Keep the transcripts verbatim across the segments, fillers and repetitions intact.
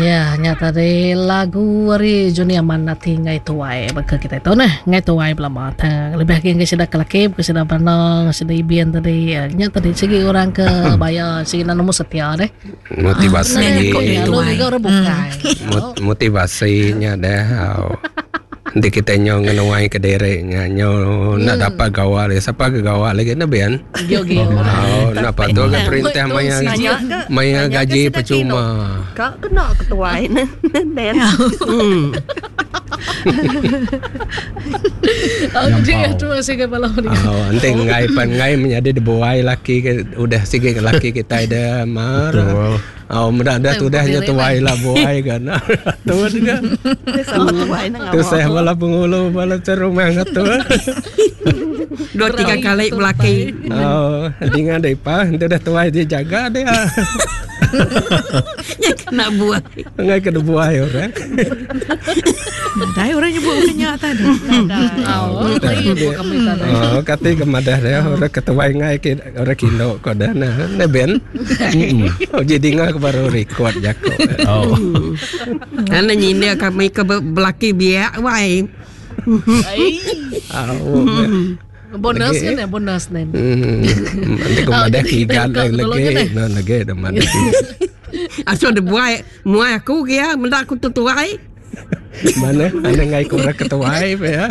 Ya, nya tadi lagu ari Johnny Aman Ati Ngai Tuai baka kita tu nah, ngai tuai belama ta. Lebih agi ngai sida ke laki bukan sida bana, sida ibin tadi. Nya tadi sigi orang ke baya sigi nemu setia deh. Motivasi. Ah, lalu juga orang bukai. Mot- motivasinya deh. Nanti kita nyo ngenuai ke diri nya nyo nak dapat gawa lagi. Siapa ke gawa lagi na bian? Gio gio. Oh, nak tu ke perintah maya maya gaji percuma. Kak kena ketuai ne Den. Hmm. Okey, terima kasih ke bala ni. Oh, nanti ngai pan ngai menjadi dibuai laki ke udah sigi laki kita ada marah. Oh, mudah dah tu dah nya tuai lah buai kan. Tu juga. Sama tuai nang Tu saya bala pengulu bala cerumah ngatu. Dua tiga kali belaki. Oh, dengan depa tu dah tuai dia jaga dia. Ya kena buai. Ngai kena buai orang. Dai orang nyebut kenya tadi. Oh, Oh, kati kemadah dia orang ketuai ngai ke orang kino ko dah nah. Ne ben. Oh, jadi ngah baru record jako. Oh. Ana nyindir kami ke belaki biak wai. Oh. Bonus kan ya, bonus nen. Hmm. Nanti kemadah kigan lagi. Nah, lagi dah madah. Aso de buai muai aku kia mendak aku tuai. Mana ana ngai ko orang ketuai ya.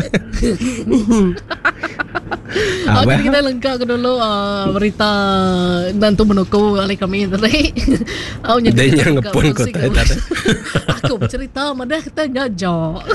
Oh, jadi kita lengkap ke dulu uh, berita dan tu menukul oleh kami tadi. Oh, Dia yang ngepun ko tadi tadi. Aku bercerita madah kita nyajak.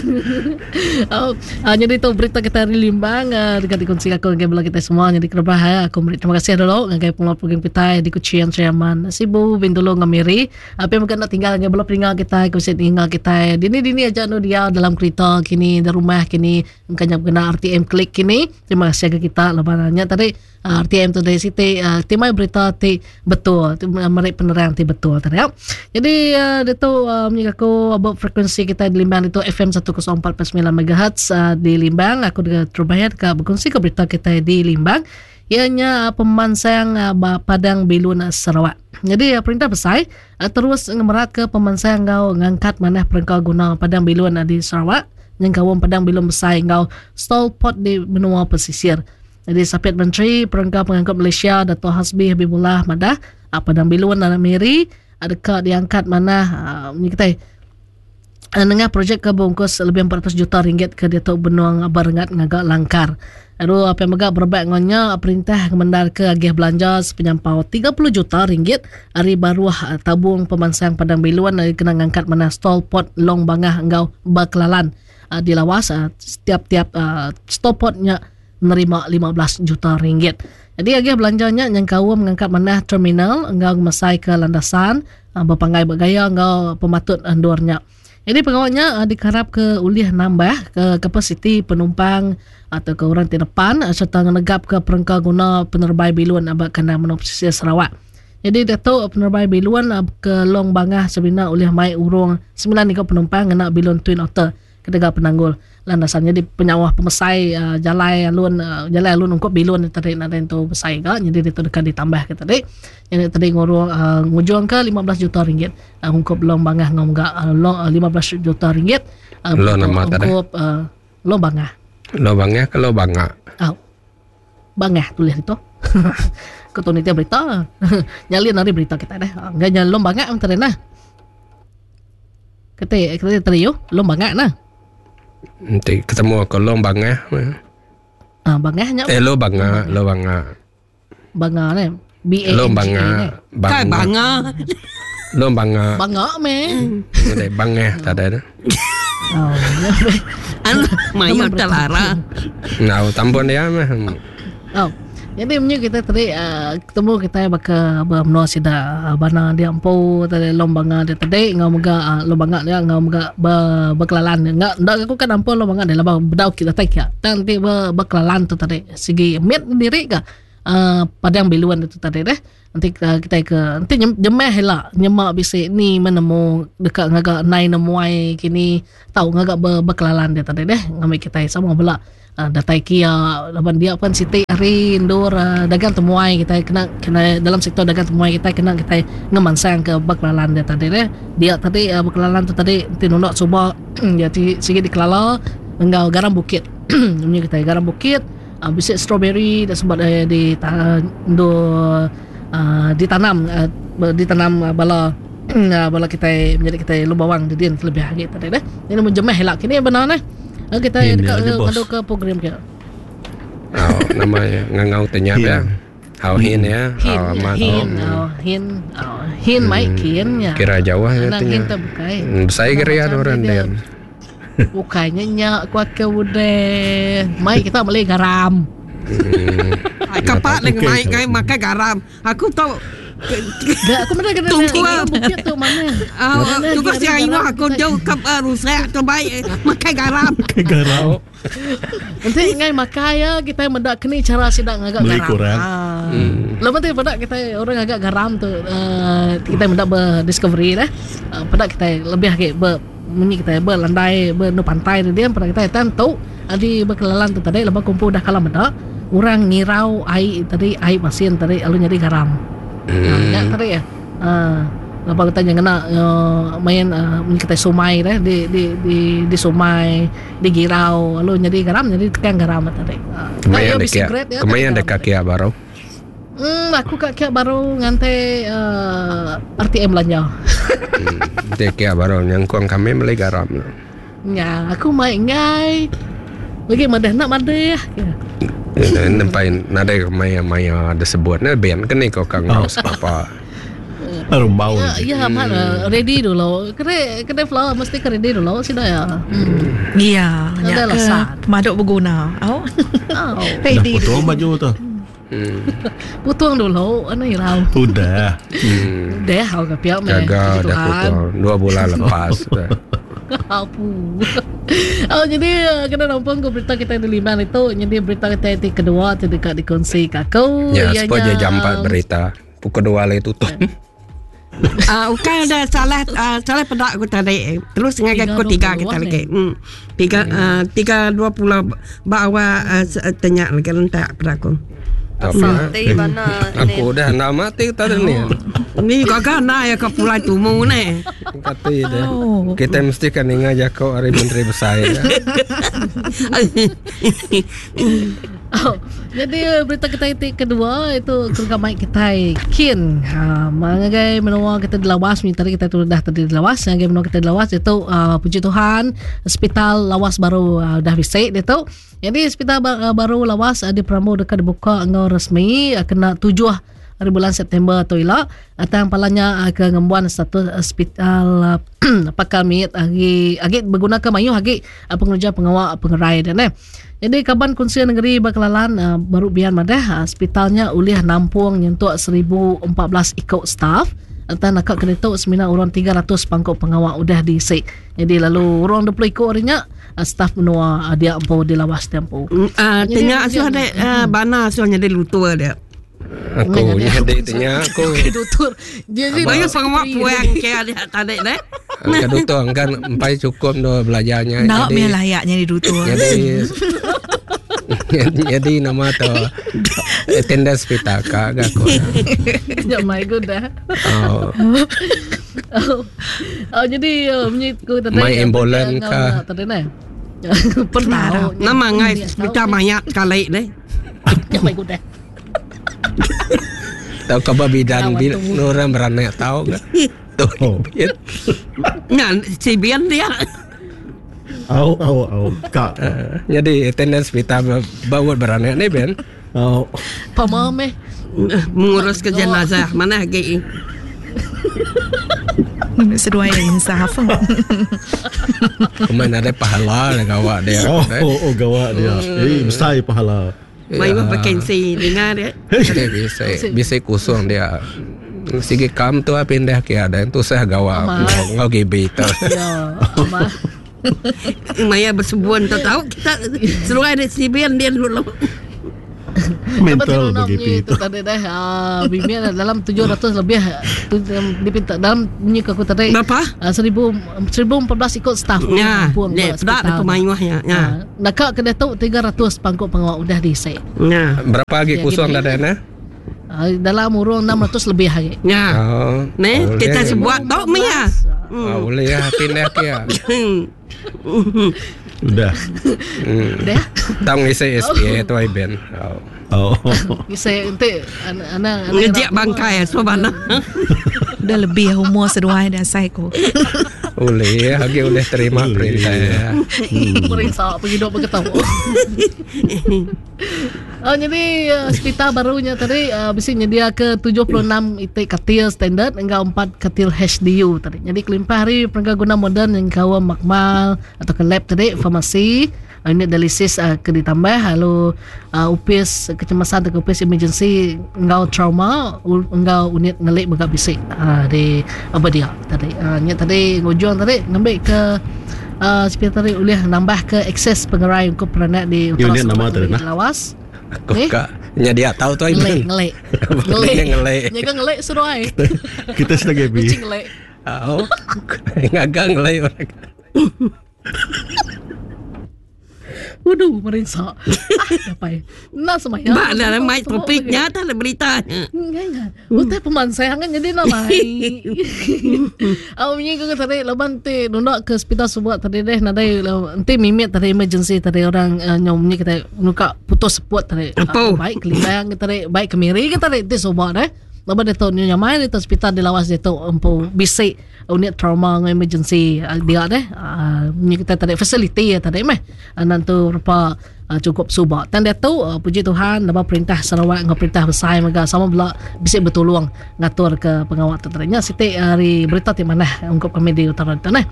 Oh, uh, jadi tu berita kita hari Limbang uh, dekat dikongsi aku dengan bala kita semua. Jadi kerebah ya, aku beri terima kasih dulu ngagai pengelola program kita di Kuching Sriaman Sibu Bintulu Ngamiri. Apa yang bukan nak tinggal ngagai bala peninggal kita, aku tinggal kita. Dini dini aja nu dia dalam kereta kini, di rumah kini, engkau kena R T M klik kini. Terima kasih ke kita lebarannya tadi R T M tu dari siti uh, timai berita ti betul, merik penerang ti betul tadi ya. Jadi uh, dia tu uh, aku about frekuensi kita di Limbang itu F M seratus empat perpuluhan sembilan megahertz uh, di Limbang. Aku dengan terbayar ke berkongsi ke berita kita di Limbang. Ianya uh, pemansang uh, Padang Bilun uh, Sarawak. Jadi uh, perintah besar uh, terus ngemerat ke pemansang ngau ngangkat manah perengkau guna Padang Bilun uh, di Sarawak. Yang kawam Padang Bilun besar ngau stall pot di benua pesisir. Jadi Sapit Menteri Perengkau Pengangkut Malaysia Dato' Hasbi Habibullah madah Padang Bilun dan Miri adakah diangkat mana uh, ni kita nengah projek ke bungkus lebih empat ratus juta ringgit ke Dato' Benuang Barengat ngagak langkar. Aduh apa yang megak berebak ngonya perintah kemendar ke agih belanja sepenyampau tiga puluh juta ringgit hari baruah tabung pemansang Padang Bilun kena ngangkat mana stall pot Long Bangah enggau Bakelalan uh, di Lawas uh, setiap-tiap uh, stall potnya menerima lima belas juta ringgit. Jadi agih belanjanya yang kau mengangkat manah terminal enggau ngemesai ke landasan berpanggai bergaya enggau pematut andurnya. Jadi pengawalnya diharap ke ulih nambah ke kapasiti penumpang atau ke orang di depan serta ngenegap ke perengka guna penerbai bilun abak kena menua pesisir Sarawak. Jadi Datuk penerbai bilun ke Long Bangah sebenar ulih mai urung sembilan ribu penumpang ngena bilun Twin Otter kedega penanggul landasannya di penyawah pemesai uh, jalai alun uh, jalai alun ungkup bilun tadi nak tu besai ga jadi dia tu dekat ditambah ke tadi yang tadi ngurung uh, ngujung ke lima belas juta ringgit uh, ungkup Long Bangah ngom ga uh, long uh, lima belas juta ringgit uh, ungkup uh, Long Bangah. Long Bangah ke Long Bangah? Oh. Bangah tulis itu. Ketua ni berita. Nyalin hari berita kita dah. Enggak nyal Long Bangah tadi nah. Kata kata tadi yo Long Bangah nah. Nanti ketemu aku Long Bangah. Ah, Bangahnya. Eh, Long Bangah, Long Bangah. Bangah ni. B A Long Bangah. Kai Bangah. Long Bangah. Bangah me. Ada Bangah tak ada. Oh. Anu mayu telara. Nah, tampon dia mah. Oh. Jadi punya kita tadi uh, ketemu kita baka menua sida uh, bana dia empu tadi Long Bangah dia tadi ngau mega uh, Long Bangah dia ngau mega be, berkelalan enggak ndak aku kan ampu Long Bangah dia laba bedau kita tak ya nanti be, berkelalan tu tadi segi mit diri ka uh, Padang Biluan itu tadi deh. Nanti uh, kita ke nanti jemeh lah nyemak bisi ni menemu dekat ngagak nai nemuai kini tahu ngagak ber, berkelalan dia tadi deh ngambil kita sama bela uh, datai kia laban dia pun siti hari ndur uh, dagang temuai kita kena kena dalam sektor dagang temuai kita kena kita ngemansang ke berkelalan dia tadi deh. Dia tadi uh, berkelalan tu tadi nanti nundak cuba dia sikit dikelala enggau garam bukit. Punya kita garam bukit uh, bisi strawberry dan sebab uh, di uh, ndur Uh, ditanam uh, ditanam uh, bala uh, bala kita menjadi kita lubawang di din lebih lagi tadi deh. Ini menjemeh lah kini benar neh. Uh, kita dekat ngadu ke program kita. Oh, namanya ngangau tanya ya. Hau hin ya. Hin hin hin hin mai kin ya. Kira jauh ya tanya. Saya kira orang den. Bukannya nyak kuat ke udah. Mai kita beli garam. Kapak dengan mai kai makan garam. Aku tahu. Dah aku mana kena tunggu bukit tu mana. Ah, tunggu si ayu aku jauh ke rusak tu baik makan garam. Makan garam. Nanti ngai makan ya kita mendak kini cara sidak ngagak garam. Ah. Hmm. Lepas tu pada kita orang agak garam tu uh, kita mendak berdiscovery dah. Uh, pada kita lebih lagi ber munyi kita berlandai bernu pantai dia pada kita tentu di berkelalan tu tadi lepas kumpul dah kalah mendak orang ngirau air tadi air masin tadi lalu jadi garam. Hmm. Ha, tadi ya. Ha, lepas kita jangan kena uh, main uh, kita sumai dah di di di di sumai di girau lalu jadi garam jadi tekan garam tadi. Ha, kemayan dekat kemayan dekat kia baru. Hmm, aku kat kia baru ngantai uh, R T M belanja. Hmm, dekat baru nyangkong kami beli garam. Ya, aku main ngai. Lagi madah nak madah. Ya. Nempai nadai maya maya ada sebutnya ben kene kau kang oh. Apa. Rumbau. Ya, ya hmm. Ready dulu. Kene kene flower mesti ke ready dulu sida ya. Hmm. Iya, ya pemaduk berguna. Oh. Oh. Ready. Dah potong baju tu. Hmm. Putung dulu, ana irau. Udah. Hmm. Udah, hau ke piak meh. Jaga dah putung dua bulan lepas. Apu. Oh, jadi kena nampung ke berita kita di lima itu. Jadi berita kita di kedua tu dekat dikongsi ke aku. Ya, sepuluh jam empat berita. Pukul dua le tutup. Ah, bukan ada salah uh, salah pedak aku tadi. Terus dengan aku tiga kita lagi. Hmm. Tiga uh, tiga dua puluh bawa uh, tanya lagi rentak pada aku. Tapi aku dah nak mati tadi ni. Ni gagah nak ya ke pulau tumu ni. Kata dia. Kita mesti kan ingat jakau hari menteri besar ya. Oh, jadi berita kita itu kedua itu keluarga mic kita kin. Ha, mengagai menua kita di Lawas ni tadi kita tu dah tadi di Lawas, mengagai menua kita di Lawas itu uh, puji Tuhan hospital Lawas baru uh, dah bisik dia tu. Jadi hospital uh, baru Lawas uh, di Perambu dekat dibuka ngau resmi uh, kena tujuh hari bulan September tu ila atang palanya uh, ke ngembuan status hospital uh, pakar mit agi agi berguna ke mayu agi uh, pengerja pengawal pengerai dan eh. Jadi kaban Kunsi Negeri Bakelalan uh, baru biar madah hospitalnya ulih nampung nyentuk seribu empat belas ikut staff atang nakak kena semina orang tiga ratus pangkuk pengawal udah diisi. Jadi lalu orang dua puluh ikut orangnya staff menua dia empu di Lawas tempo. Ah uh, tanya asuh ada uh, bana asuh jadi lutua dia. Aku jadi tanya aku. Dutur. Dia jadi banyak pengawal puang ke ada tadi deh. Ke dutur kan empai cukup do belajarnya. Nak jadi layaknya di dutur. Jadi jadi nama tu attendance pitaka aku. Ya my god dah. Oh. Oh. Oh jadi bunyi ku tadi. My ambulan ka. Tadi ne. Pernah. Nama ngai pita mayat kali ne. Ya my god dah. Tahu kau bidan bil orang beranak tahu ke? Tuh. Ngan si bian dia. Au au au kak. Jadi attendance pita bawa beranak ni ben. Au. Pamame mengurus ke jenazah mana lagi. Seduai insaf. Kemana ada pahala lah gawak dia. Oh, oh, oh gawak dia. Eh besar pahala. Mai yeah. Vacancy dengar dia. Dia bisa bisa kosong dia. Sige kam tu pindah ke ada tu saya gawak ngau gibi tu. Ya. Maya bersebuan tu tahu kita seluai ada sibian dia dulu. Mental bagi itu tadi dah bimbing dalam tujuh ratus lebih tu dipinta dalam bunyi aku tadi berapa? seribu seribu empat belas ikut staff ya, ne dak pemayuhnya ya. Nakak ke tu tiga ratus pangkuk pengawal udah diisi. Ya. Berapa lagi kosong dah dah? Dalam urung enam ratus lebih lagi. Ya. Oh, ne kita sebuat tok mia. Oh, boleh ya pindah ke ya. Udah. Udah. Tang isi S P A tu ai ben. Oh. Isi ente anak ngejek bangkai sobana. Udah lebih umur seduai dah sai ko. Boleh, lagi boleh terima perintah ya. Perintah pergi dok berketawa. Oh, jadi uh, hospital barunya tadi uh, bisi nyedia ke tujuh puluh enam itik katil standard enggau empat katil H D U tadi. Jadi kelimpah hari perengka guna moden yang kawa makmal atau ke lab tadi, farmasi, uh, unit dialisis uh, ke ditambah lalu uh, upis kecemasan atau upis emergency enggau trauma enggau unit ngelik mega bisi uh, di apa dia tadi. Uh, nya tadi ngujung tadi ngambil ke uh, hospital tadi boleh nambah ke akses pengerai untuk peranak di utara Lawas. Aku eh? Kak, nya dia tahu tu ngelek ngelek. Ngelek ngelek. Nya kan ngelek seruai. Kita sedang happy. Kucing ngelek. Oh. Ngagang ngelek orang. Waduh, merinsak. Ah, apa? Nak semaya. Ba dalam mic topiknya tak ada berita. Enggak. Utai pemansangan jadi nak mai. Au ni ke tadi laban ti nundak ke hospital sebuat tadi deh nadai enti mimit tadi emergency tadi orang uh, nyom ni kita nuka putus seput tadi. Uh, baik ke Limbang ke tadi, baik ke Miri ke tadi ti sebuat deh. Laban dia tu nyamai di hospital di Lawas dia tu empu bisik unit trauma dengan emergency dia deh uh, ni kita tadi facility ya tadi meh nanti rupa uh, cukup subak dan dia tu uh, puji Tuhan dapat perintah Sarawak dengan perintah besar mega sama pula bisik bertolong ngatur ke pengawal tu tadi nya siti hari berita ti mana ungkup kami di utara tu neh.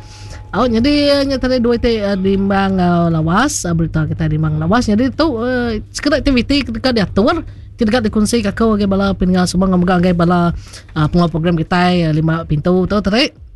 Oh, jadi nya tadi dua ti uh, di Limbang uh, Lawas uh, berita kita di Limbang Lawas jadi tu uh, sekedar aktiviti ketika diatur tidak dikongsi kakau bagi bala pendengar semua ngomong bagi bala uh, pengawal program kita uh, lima pintu tu tadi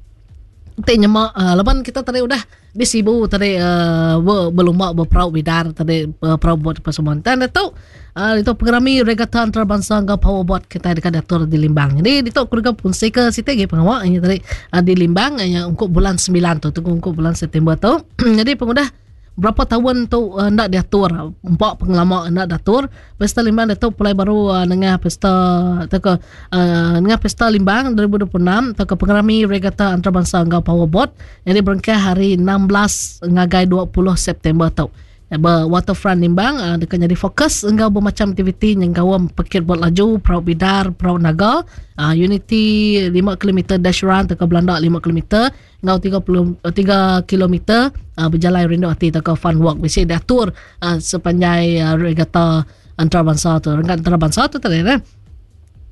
ti nyemak uh, laban kita tadi udah di Sibu tadi uh, berlumba berperau bidar tadi uh, perau buat persembahan dan itu uh, itu pengerami regata antarabangsa enggau powerboat kita dekat diatur di Limbang. Jadi itu keluarga fungsi ke situ ge pengawal ini tadi uh, di Limbang uh, untuk bulan sembilan tu tunggu untuk bulan September tu. Jadi pengudah berapa tahun tu uh, nak diatur empat pengelama nak diatur pesta Limbang itu pulai baru uh, dengan pesta atau ke uh, dengan pesta Limbang dua ribu dua puluh enam atau ke pengerami regata antarabangsa enggau powerboat yang berengkah hari enam belas ngagai dua puluh September tu. Ber waterfront Limbang uh, dekat jadi fokus enggau bermacam aktiviti yang gawam pekit buat laju, perahu bidar, perahu naga, uh, Unity lima kilometer dash run atau ke Belanda lima kilometer enggau tiga puluh tiga kilometer uh, berjalan rindu hati atau ke fun walk bisa diatur uh, sepanjang uh, regata antarabangsa tu, renggat antarabangsa tu tadi kan.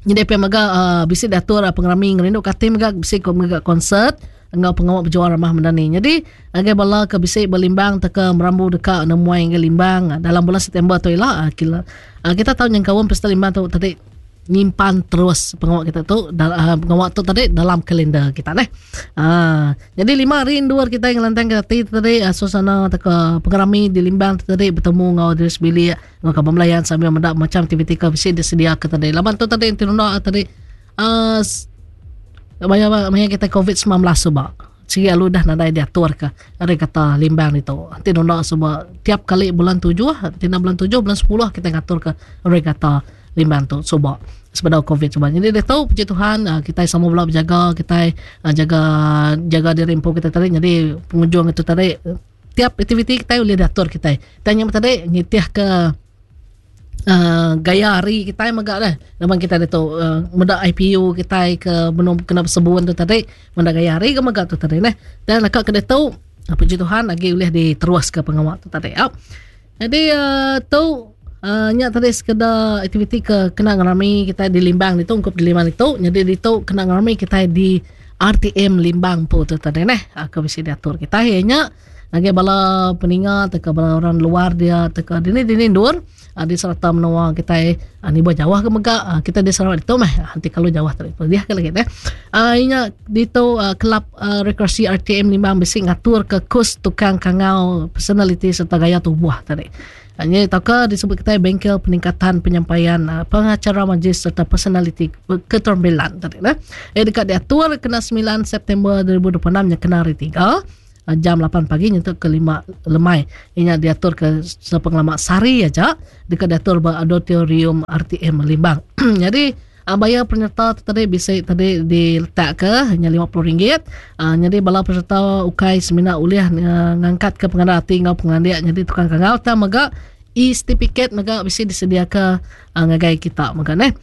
Jadi P M mega uh, bisa diatur uh, pengerami ngerindu kati mega bisa mega konsert enggau pengawal berjuang ramah mendani. Jadi agai bala ke bisik berlimbang teka merambu dekat nemuai ke Limbang dalam bulan September tu ialah kita, kita tahu yang kawan pesta Limbang tu tadi nyimpan terus pengawal kita tu uh, pengawal tu tadi dalam kalender kita neh. Uh, jadi lima hari dua kita yang lantang kita tadi uh, suasana teka pengerami di Limbang tadi bertemu ngau diri sebilik ngau kaban melayan sambil mendak macam aktiviti ke bisik disediakan tadi. Laban tu tadi tinunda tadi uh, Maya maya kita covid sembilan belas sebab sigi alu dah nadai diatur ke hari kata Limbang itu. Nanti nunda sebab tiap kali bulan tujuh, nanti bulan tujuh, bulan sepuluh kita ngatur ke hari kata Limbang tu sebab sebab covid sebab. Jadi dia tahu puji Tuhan kita sama pula berjaga, kita jaga jaga diri empu kita tadi. Jadi pengunjung itu tadi tiap aktiviti kita boleh diatur kita. Tanya tadi ngitih ke Uh, gaya hari kita megak dah. Memang kita ada tu uh, mendak I P U kita ke belum kena bersebuan tu tadi, mendak gaya hari ke megak tu tadi neh. Dan akak kena tu puji Tuhan lagi boleh diterus ke pengawal tu tadi. Oh. Jadi uh, tu uh, nyak tadi sekedar aktiviti ke kena ngerami kita di Limbang itu ungkup di Limbang itu. Jadi di tu kena ngerami kita di R T M Limbang pu tu tadi neh. Aku mesti diatur kita nya lagi bala peninga teka bala orang luar dia teka dini dini dur di serata menua kita ni buat jauh ke mega kita di Sarawak itu meh nanti kalau jauh tadi dia ke lagi eh inya di tu kelab rekreasi R T M Limbang bisi ngatur ke kus tukang kangau personality serta gaya tubuh tadi. Ini tauka disebut kita bengkel peningkatan penyampaian uh, pengacara majlis serta personaliti keterampilan tadi nah. Eh dekat diatur kena sembilan September dua ribu dua puluh enam nya kena hari tiga jam lapan pagi nyentuk ke lima lemai. Inya diatur ke sepengelama sehari aja dekat diatur ba auditorium R T M Limbang. Jadi bayar penyerta tadi bisa tadi diletak ke hanya lima puluh ringgit. Uh, jadi bala peserta ukai semina ulih uh, ngangkat ke pengandal hati ngau pengandiak jadi tukang kangau ta mega e-certificate mega bisa disediakan uh, ngagai kita mega neh.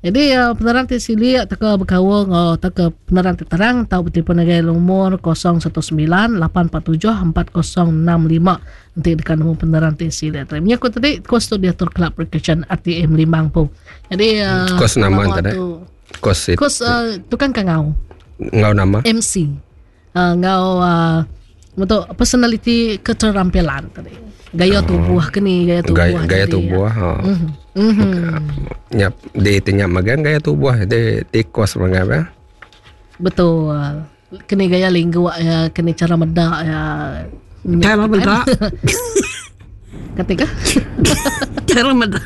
Jadi uh, penerang ti silik teka berkaul ngau teka penerang ti terang tau bertelefon ngagai nomor kosong satu sembilan lapan empat tujuh empat kosong enam lima nanti dekat nombor penerang ti silik. Terima aku tadi kos tu diatur Kelab Percussion R T M Limbang pun. Jadi uh, kos nama tadi. Kos kos uh, tukang kangau. Ngau nama M C. Uh, ngau uh, untuk personality keterampilan tadi. Gaya oh. tubuh kini gaya tubuh gaya, gaya tubuh ha. Mm-hmm. Mm-hmm. Nyap di tinyap magan gaya tubuh di di kos magan ya. Betul. Kini gaya lingua ya, kini cara medak ya. Cara medak. Ketika cara medak.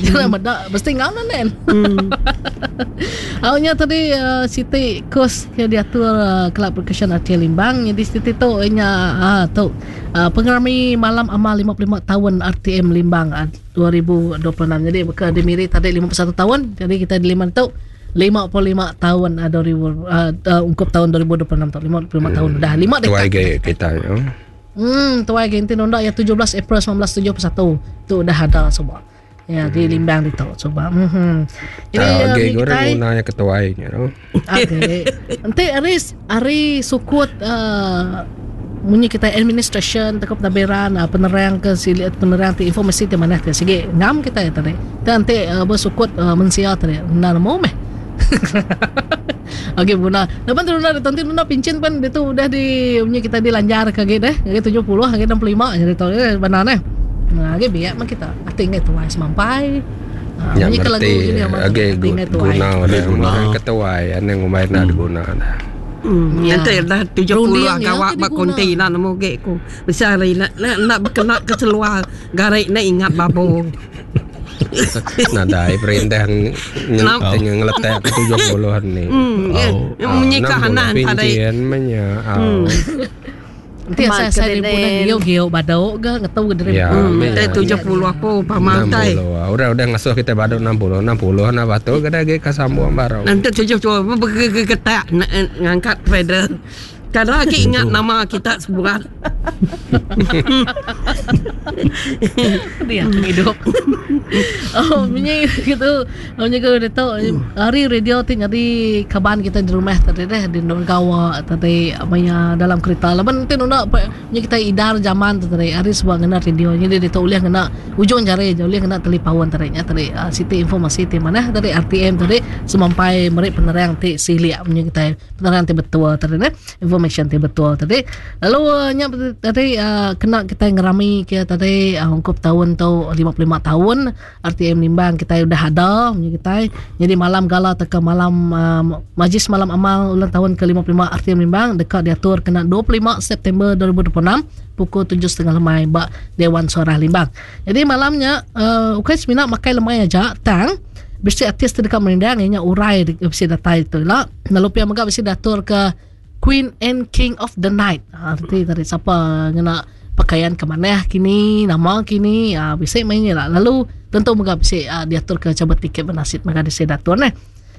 Cara medak mesti ngau nen. Hmm. Awalnya tadi uh, Siti kos yang diatur uh, Kelab Percussion R T Limbang. Jadi Siti tu nya uh, tu uh, pengerami malam amal lima puluh lima tahun R T M Limbang uh, dua ribu dua puluh enam. Jadi bukan dimiri tadi lima puluh satu tahun. Jadi kita di lima tu lima puluh lima tahun uh, dua ribu uh, uh, ungkup tahun dua ribu dua puluh enam tu lima puluh lima hmm. tahun dah lima dekad kita ya. Hmm, tuai gentin nondak ya tujuh belas April sembilan belas tujuh puluh satu tu dah ada semua. Ya di Limbang itu coba. Mhm. Jadi uh, okay, guna yang ketuai nya tu. Okey. Nanti hari hari sukut uh, munyi kita administration tekop tabiran uh, penerang ke silit penerang ti informasi ti mana ti sigi ngam kita ya tadi. Nanti uh, bersukut uh, mensia tadi. Nah mau meh. Okey guna. Lepas tu nak nanti nak pincin pun dia tu udah di punya kita dilanjar ke gitu deh. Ke tujuh puluh, ke enam puluh lima jadi tahu eh benar neh. Nah, ge biak mah kita ati ngai tuai semampai. Ha, ya, ngerti. Okey guna guna ketuai ane ngumai nak guna dah. Hmm, nanti dah tujuh puluh gawak bak konti nak nemu ge ku. Besar nak nak berkenak ke seluar garik nak ingat babo. Nadai perintah yang ngeletak ke tujuh puluhan ni. Menyikah anak tadi. Nanti saya saya pun gio-gio badau ke ngetau ke dari. tujuh puluh aku pamantai. Udah udah ngasuh kita badau enam puluh enam puluh nah batu kada ge kasambung baru. Nanti tujuh puluh bergetak ngangkat feather. Kadang lagi ingat nama kita sebulan. Dia hidup. Oh, bunyi gitu. Bunyi ke dia tahu hari radio tu jadi kaban kita di rumah tadi deh di gawa tadi maya dalam kereta. Laban nanti nuna bunyi kita idar zaman tu tadi hari sebuah ngena radio. Jadi dia tahu uliah ngena ujung jari, uliah ngena telefon tadi nya tadi siti informasi ti mana tadi R T M tadi semampai merik penerang ti silia bunyi kita penerang ti betul tadi deh. Informasi ti betul tadi. Lalu nya tadi uh, kena kita ngerami kita tadi uh, ungkup tahun tu lima puluh lima tahun R T M Limbang kita udah ada kita. Jadi malam gala teka malam uh, majlis malam amal ulang tahun ke lima puluh lima R T M Limbang dekat diatur kena dua puluh lima September dua ribu dua puluh enam pukul tujuh tiga puluh lemai bak Dewan Suarah Limbang. Jadi malamnya uh, ukai semina makai lemai aja tang besi artis dekat merindang ianya urai besi datai tu lah. Lalu pia mega besi diatur ke Queen and King of the Night. Ha, nanti tadi siapa ngena pakaian ke mana kini, nama kini, ha, bisa mainnya lah. Lalu tentu mega bisa uh, diatur ke cabut tiket bernasid mega dise datur neh.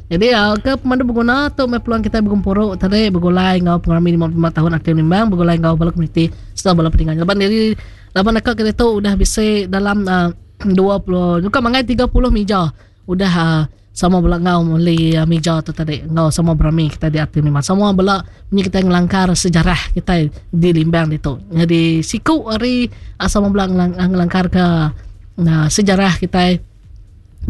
Jadi uh, ke pemandu berguna tu mai peluang kita bergumpuru tadi bergulai ngau pengarami lima puluh lima tahun R T M Limbang, bergulai ngau bala komuniti serta bala peninggal. Laban dari laban dekat kita tu udah bisa dalam uh, dua puluh bukan mangai tiga puluh meja udah uh, sama bela ngau meli uh, meja tu tadi ngau sama berami kita di R T M Limbang. Sama bela punya kita ngelangkar sejarah kita di Limbang itu. Jadi siku hari uh, sama bela ngelang, ngelangkar ke uh, sejarah kita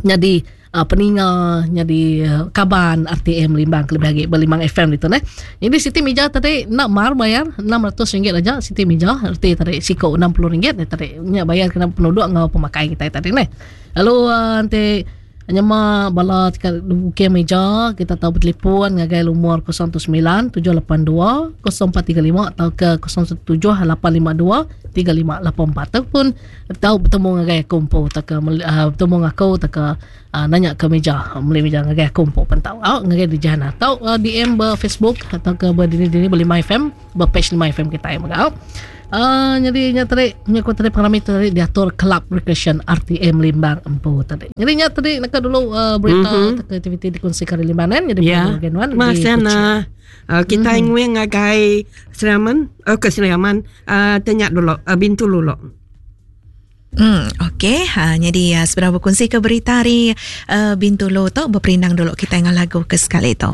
jadi uh, peninga jadi uh, kaban R T M Limbang lebih lagi berlimbang F M itu neh. Jadi siti meja tadi nak mar bayar enam ratus ringgit aja siti meja erti tadi siku enam puluh ringgit tadi nya bayar kena penduduk ngau pemakai kita tadi neh. Lalu uh, nanti Nyama bala tika buke meja kita tahu bertelefon ngagai lumur kosong sembilan tujuh lapan dua kosong empat tiga lima atau ke kosong tujuh lapan lima dua tiga lima lapan empat ataupun tahu bertemu ngagai aku empu atau ke uh, bertemu aku atau ke uh, nanya ke meja beli meja ngagai aku empu pentau au ngagai di jana atau uh, D M ber Facebook atau ke ber dini-dini beli My F M ber page My F M kita yang megau. Uh, jadi nya tadi nya ku tadi pengalaman tadi diatur Club Recreation R T M Limbang empu tadi. Jadi nya tadi nak dulu uh, berita mm-hmm. aktiviti dikongsi kali Limbangan jadi yeah. Genuan Masana uh, kita mm-hmm. nguing ngagai Seraman oh ke Seraman uh, tanya dulu uh, Bintu dulu. Hmm, okey. Ha, jadi uh, sebenarnya berkongsi ke berita hari uh, Bintulu tu berperindang dulu kita dengan lagu ke sekali tu.